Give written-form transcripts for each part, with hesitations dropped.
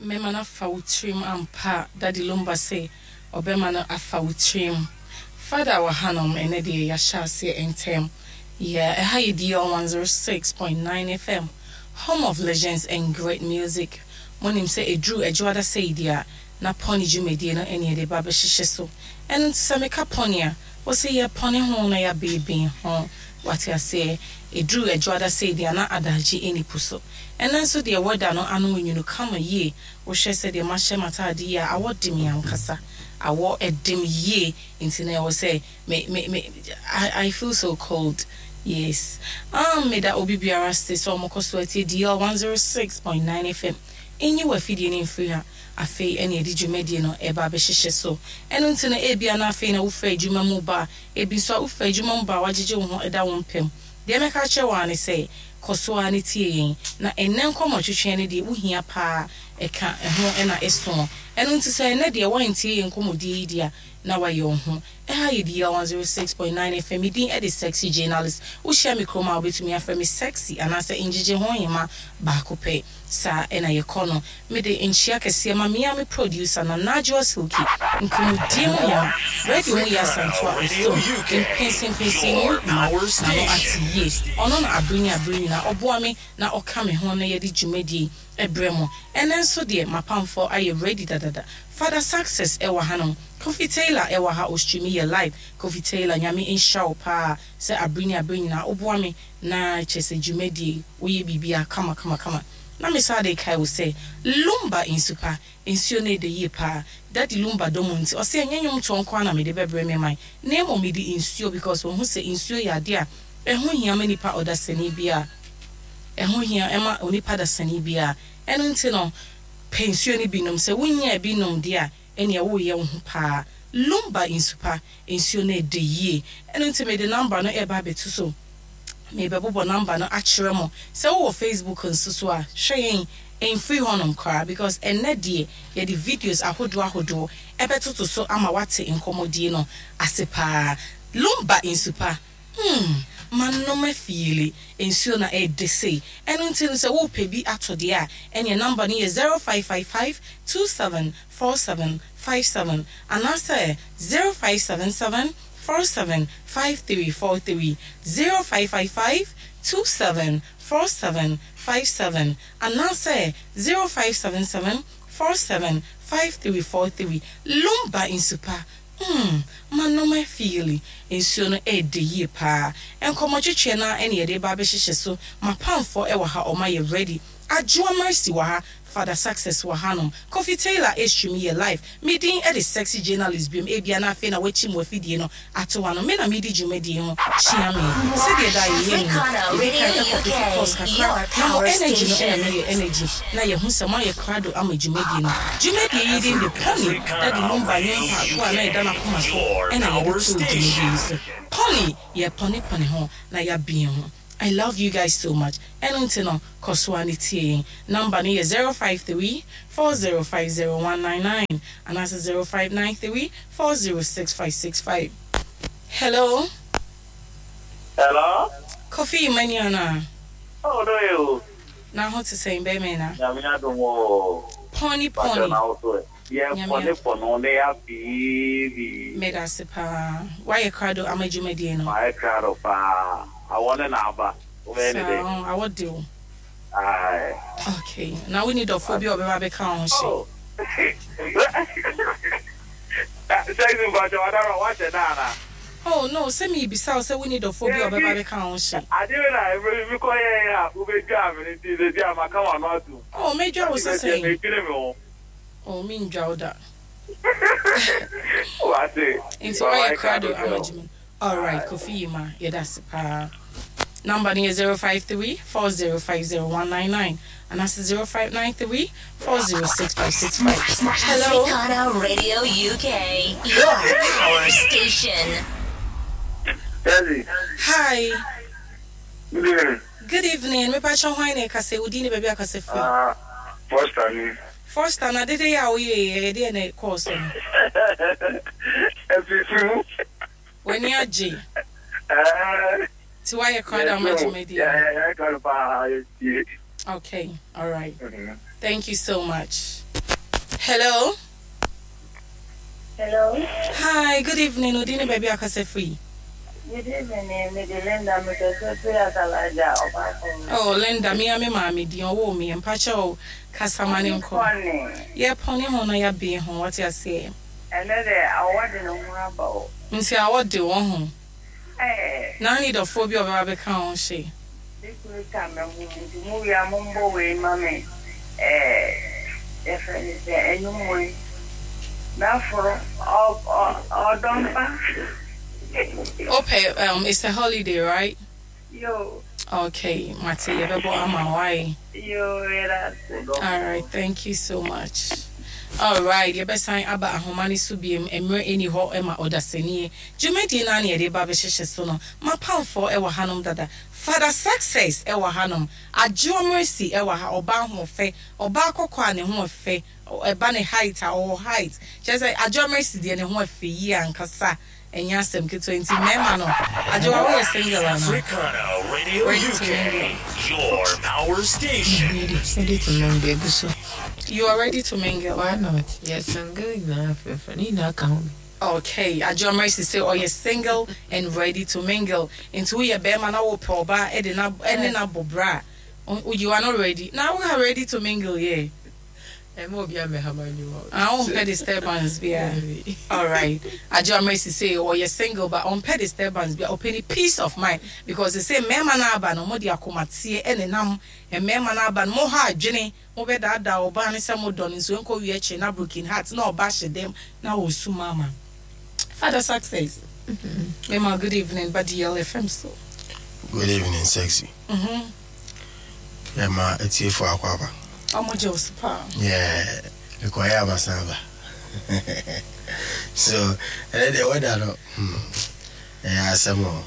Mɛma no afa wo tirim ampa Daddy Lumba se ɔbɛma no afa wo tirim Father wɔ hanom ɛnɛ deɛ yɛahyɛ aseɛ ntɛm Yeah ɛha yɛ DL 106.9 FM Home of legends and great music Monim sɛ ɛduru Adwoada sei deɛ a na pɔne dwumadie no ɛne yɛde ba bɛhyehyɛ so Ɛno nti sɛ meka pɔne a wose yɛpɔne ho na yɛabeeben ho Wate aseɛ Ɛduru Adwoada sei deɛ a na adagye ɛnni po so Ɛnnɛ nso deɛ weather no ano nwunu kama yie, wohwɛ sɛdeɛ mahyɛ m'ataade yi a, awɔ de me ankasa, awɔ de me yie, nti na ɛwɔ sɛ me me me I I feel so cold, yes. Ahm meda obi biara ase sɛ wɔkɔ so atie DL 106.9 FM, nyi w'afidie no mfiri ha, afei ɛna yɛde dwumadie no ɛreba abɛhyehyɛ so. Ɛno nti no ebia na afei na wofiri adwuma mu reba, ebi nso a wofiri adwuma mu ba a woagyegye wo ho da wo mpa mu, Deɛ mɛka akyerɛ wo ara ne sɛ, kɔ so ara ne tie yɛn. Na ɛnnɛ nkɔmmɔtwetweɛ no deɛ wohia pa ara, ɛka ho na ɛso. Ɛno nti sɛ ɛnnɛ deɛ woantie yɛn nkɔmmɔdie yi deɛ a, na woayɛ wo ho. Ɛha yɛ DL 106.9 FM, me din de Sexy Journalist. Wohyia me kurom a, wobɛtumi afrɛ me Sexy anaasɛ Ngyegye ho Hema baako pɛ. Saa na yɛkɔ no. Mede nkyea kɛseɛ ma me ara me producer Nana Adwoa Silky, nkɔmmɔdie mu hema, radio mu yɛ Asantewa Osom, mpɛnsɛmpɛnsɛmu hema, n'ano ate yie. Ɔno na abere ne abere nyinaa ɔboa me na ɔka me ho na yɛde dwumadie yi brɛ mo. Ɛnnɛ nso deɛ m'apamfoɔ ayɛ ready dadada. Father Success wɔ hanom, Kofi Taylor wɔ ha ɔstreami yɛ live. Kofi Taylor Nyame nhyira wo paa sɛ abere ne abere nyinaa woboa me Na kyerɛ sɛ dwumadie yi woyɛ biribiara kama kama kama. Na me san de kae wo sɛ Lumba nsu pa, nsuo no ɛdɛ yie paa. Daddy Lumba dɔ mu nti ɔse ɛnyɛ nwomtoɔ nko ara na mede bɛbrɛ me man na mmom mede nsuo because wahu sɛ nsuo yɛ adeɛ a ɛho hia ma nipa ɔdasani biara. Ɛho hia ma onipa dasani biara. Ɛno nti no pɛ nsuo no bi nom. Sɛ wonyaa bi nom deɛ a ɛneɛ woreyɛ wo ho paa. Lumba nsu pa, nsuo no ɛdɛ yie. Ɛno nti mede number no ɛreba abɛto so. Merebɛbobɔ number no akyerɛ mo. Sɛ wowɔ Facebook nso so a, hwɛ yɛn mfiri hɔnom koraa because ɛnnɛ deɛ yɛde videos ahodoɔ ahodoɔ ɛbɛtoto so ama woate nkɔmmɔdie no ase paa. Lumba nsu pa, hmm, manom afiili, nsuo na ɛɛdɛ sei. Ɛno nti no sɛ worepɛ bi atɔ deɛ a, ɛneɛ number no yɛ 0555 27 47 57 anaasɛ 0577 47 5343, 0555 27 47 57 anaasɛ 0577 47 5343. Lumba nsu pa, mm, manom afiili, nsuo no ɛɛdɛ yie paa. Nkɔmmɔtwetweɛ no ara na yɛde reba abɛhyehyɛ so, m'apamfoɔ wɔ ha, wɔayɛ ready. Adwoa Mercy wɔ ha, Father Success wɔ hanom, Kofi Taylor estream yɛ live, me din de Sexy Journalist biom, ebia na afei na wakyim w'afidie no ato ano, me na medi dwumadie ho kyia me. Sɛdeɛ daa yɛyɛ no yi, yɛdi kan kɔ peke pause kakra na mo energy no na meyɛ energy na yɛhu sɛ moayɛ krado ama dwumadie no. Dwumadie yi din de Pony, Daddy Lumba nwom paako a na ɛda n'akoma so na yɛde too dwumadie yi so. Pony, yɛpɔnepɔne ho na yɛabue ho. I love you guys so much ɛno nti no kɔ so ara ne tie yɛn number no yɛ 053 4050 199 anaasɛ 0593 406565 Hello. Hello. Kofi Emmanuel anaa? Oh no ye o. Na ho te sɛn bɛrima na? Nyame adom o. Pɔni pɔni. Pakyɛ na wo so ɛ? Yɛ pɔni pɔno ne ya biibi. Medase paa. Woayɛ krado ama dwumadie no? Mayɛ krado paa. Awɔ ne na aba. Wobɛyɛ ne dɛn? Saa awɔ de wo. Aye. Okay. Na wonni dɔfoɔ bi a ɔbɛba abɛka wo ho hye? Oh. Sexy mpakyɛ wadara wahyɛ da anaa? Oh no, sɛ mebisa wo sɛ wonni dɔfoɔ bi a ɔbɛba abɛka wo ho hye. Adeɛ wei na mmerɛ bi mekɔ yɛɛ a wobɛdwaa me no nti seesei a maka w'ano atom. Oh mɛdwa wo sɛ sɛn? Medwene me ho. Oh mendwa wo da. Wate. Nti woayɛ krado ama dwuma no? Alright Kofi Yima yɛdase paa. Number no yɛ 053 4050 199 anaasɛ 0593 406565. Hello. Africana Radio UK, your power station. Daddy. Hi. Good evening. Good evening. Me pacho hwan na ɛkasa yi? Wo din ne baabi a kasa firi? Ah, Foster ni. Foster, na dede yi a woyɛ yi, ɛyɛ deɛ na ɛkɔɔ so no? Ɛfifi mu. W'ani agye. Ɛɛ. Ti wayɛ krado ama dwumadie no. Yɛ krado paa, yɛtie. Okay, all right. Thank you so much. Hello. Hello. Hi, good evening. Odini baby akasa free. Good evening, me de Linda me kasa free Asalaja Obafemi. Oh, Linda, me ame maame di owo me mpacha o kasa mane nko. Ye pɔne ho na ya be ho what ya say. Ɛnɛ de awɔ de ne ho aba o. Nti awɔ de wo ho. Ɛɛ. Na ne dɔfoɔ bi a ɔbɛba bɛka ho hye. Me kunu ka me ho nti mo wie a mombɔ wei ma me ɛɛ yɛfrɛ no sɛ ɛnwom wei mɛforo ɔdɔ mpa. Wopɛ it's a holiday right? Yo. Okay, mate yɛbɛbɔ ama wo ae. Yo, yɛda ase. Alright, thank you so much. Alright, yɛbɛsan aba ahoma no so biom, mmerɛ nni hɔ ma ɔdasanie. Dwumadie no ara na yɛde reba abɛhyehyɛ so no. M'apamfoɔ wɔ hanom dada. Father Success wɔ hanom. Adwoa Mercy wɔ ha, ɔbaa ahoɔfɛ, ɔbaa kɔkɔɔ a ne ho ɛfɛ, ɛba ne height a, ɔwɔ height. Kyerɛ sɛ Adwoa Mercy deɛ ne ho ɛfɛ yie ankasa. Ɛnyɛ asɛm ketewa nti mmarima no Adwoa woyɛ single anaa? Africana Radio Ready to mingle. UK, your power station. Ready, ready to mingle egu so. You are ready to mingle. Why not? Yɛ single nyinaa frɛfrɛ ne nyinaa ka ho bi. Okay, Adwoa Mercy se ɔyɛ single and ready to mingle nti woyɛ barima na wopɛ ɔbaa de no ne no abɔ bra a, you are not ready na wo are ready to mingle yeah. Ɛmma obiara mmɛha m'adwuma o. Ah wompɛ disturbance biara. Alright. Adwoa Mercy se ɔyɛ single but ɔmpɛ disturbance biara, ɔpɛ ne peace of mind because sesei mmarima no aba no wɔde akomateɛ nenam, mmarima no aba no moha adwene, mobɛdaadaa ɔbaa no sɛ modɔ no nso ɛnkɔ wie akyire na broken heart na ɔba hyɛ dɛm na ɔresu mama. Father Success, mema good evening ba DLFM so. Good evening sexy. Yɛma atiefo akwaaba. Ɔmo gye wo so paa. Yeah, mekɔyɛ a masan aba. So, ɛnɛ deɛ weather no, hmm, ɛyɛ asɛm o.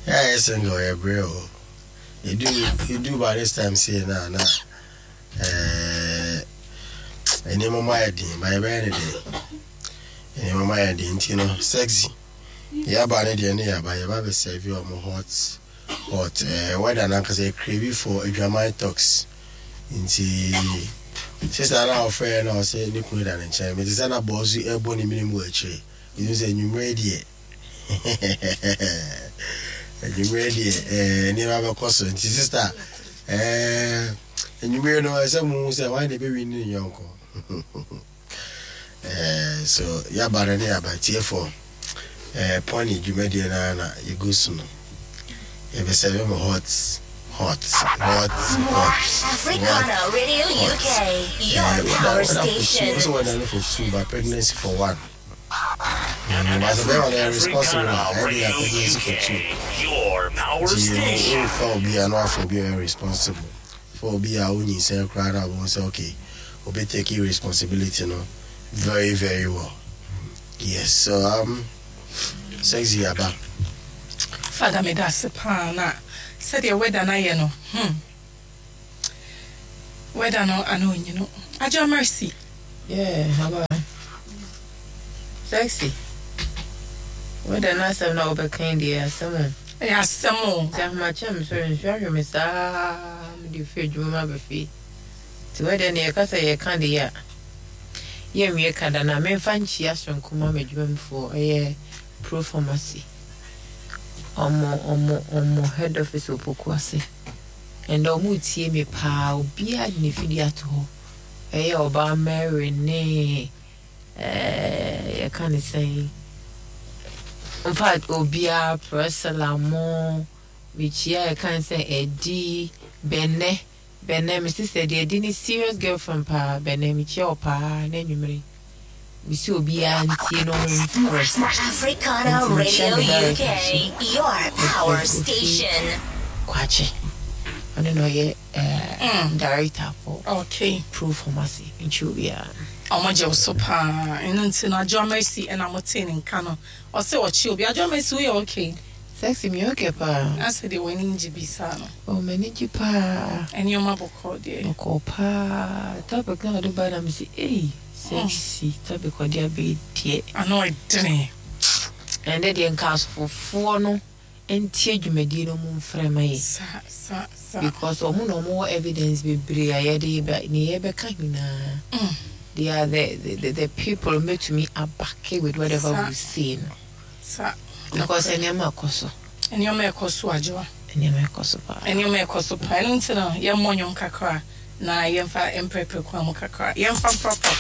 Yɛ a yɛ single yɛ brɛ o. Edu edu by this time sei na na ɛɛ nneɛma mu ayɛ den, ba yɛbɛyɛ ne den. Nneɛma mu ayɛ den nti no sexy. Yɛaba ne deɛ ne yɛaba yɛba bɛ serve ɔmo hot. But eh, weather no ankasa yɛ crave for adwaman talks nti sister no a ɔfrɛɛ na ɔsɛ ne kunu da ne nkyɛn mete sɛ na bɔɔ so ɛbɔ ne mene mu wɔ akyire ɛtum sɛ anwummerɛ deɛ anwummerɛ deɛ eh, nneɛma bɛkɔ so nti sister eh, anwummerɛ no ɛsɛ mu sɛ wan na ɛbɛwi ne ne yɔnko Eh, so yaba no ne yaba tiefo eh, pɔne dwumadie no ara na yɛgu so no yɛbɛsɛbe mo hot hot hot hot Africana Radio hot UK, your eh, whether, power whether for two station. also whether no for two but pregnancy for one but sɛ bɛrima no yɛ responsible a Africana ɛyɛ de Radio yɛ pregnancy for two UK, your power nti station. wofa obi a na wafa obi a ɔyɛ responsible fa obi a wonyinsɛn koraa na wobɛhu sɛ okay obi take responsibility no very very well yes so sexy aba. Father meda ase paa na sɛdeɛ weather no ayɛ no hmm weather no ano onyino Adwoa Mercy. Yeah, aba. Sexy. Weather no asɛm na wobɛka yi deɛ asɛm o. Ɛyɛ asɛm o. Nti ahomakye a mesɔre nsuo ahwe me saa mede firi adwuma mu aba fie. Nti weather no yɛka sɛ yɛka deɛ a yɛnwie ka da na memfa nkyia soronko ma m'adwumamufoɔ ɛyɛ Pro Pharmacy. Ɔmo ɔmo ɔmo head office wɔ Pokuase. Ɛndɛ ɔmo retie me paa obiara de ne fidie ato hɔ. Ɛyɛ ɔbaa Mary ne ɛɛ yɛka ne sɛn infact obiara Priscilla mo mekyia yɛka ne sɛ Ɛdi Bɛnɛ Bɛnɛ me sister deɛ Ɛdi ne serious girlfriend paa Bɛnɛ mekyia wo paa na anwummere mesi obiara ntie na ɔmo mfrɛ Africana nti mekyia Radio me director UK, nso your power Mr. Kofi station. Kwakye ɔno na ɔyɛ ɛɛ director for Okay. Pro Pharmacy mekyia obiara. Ɔmo gye wo so paa ɛno nti no Adwoa Mercy ɛna mo tee ne nka no ɔse ɔkye obi Adwoa Mercy woyɛ okay? Sexy meyɛ okay paa. Asɛ deɛ w'ani ngye bi saa no. Oh m'ani gye paa. Nneɛma bɔkɔɔ deɛ. Bɔkɔɔ paa topic no a ɔde bae na mese ei sexy topic ɔde aba yi deɛ. Ano ɛdene. Ɛndɛ deɛ nka asofofoɔ no. Ntie dwumadie no, ɔmo mfrɛ ma yɛ. Saa saa saa. Because ɔmo na ɔmo wɔ evidence bebree a yɛde ba ne yɛbɛka nyinaa. They are the people mbɛtumi aback with whatever we say no. Because nneɛma ɛkɔ so. Nneɛma ɛkɔ so, Adwoa. Nneɛma ɛkɔ so paa. Nneɛma ɛkɔ so paa. Ɛno nti no, yɛmmɔ nnwom kakra na yɛmfa mprɛprɛ kwan mu kakra, yɛmfa mprapra.